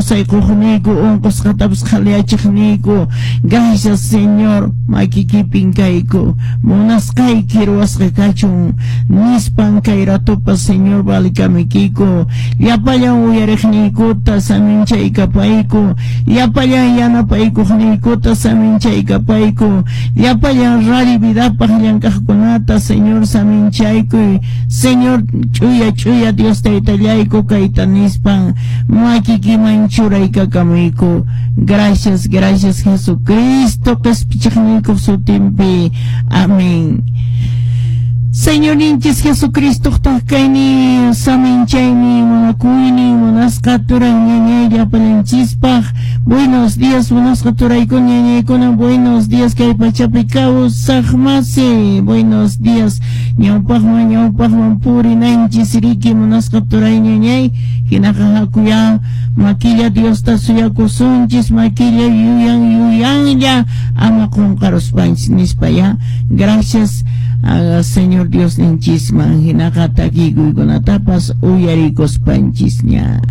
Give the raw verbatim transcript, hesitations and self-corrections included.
Kawsay quqniyku, unqusqatapas qhaliyachiqniyku. Gracias, Señor, makikipin kayku, munasqayki ruwasqa kachun nispan kay ratupas, Señor, valikamikiyku. Llapallan uyariqniykuta saminchaykapayku, llapallan yanapaykuqniykuta saminchaykapayku, llapallan Radio Vidapaq llank'aqkunata, Señor, saminchaykuy. Señor, ch'uya ch'uya Dios taytallayku, kayta nispan makikiman churaykakamuyku. Gracias, gracias, Jesucristo qespichiqniykuq sutinpi. Amén. Señorninchis Jesucristo kayni, saminchayni, munakuyni, munasqa turay ñañay llapalanchispaq. Buenos días, munasqa turaykuna, ñañaykuna. Buenos días, kay pachapi kawsaq masi. Buenos días. Ñawpaqman, ñawpaqman purinanchis riki, munasqa turay ñañay. Hinaqa hakuya makilla Diosta suyakusunchis, makilla yuyan yuyanlla, ama qunqaruspanchis nispa ya. Gracias a Señor Dios ninchisman, hinaqa takikuykunatapas uyarikuspanchisña.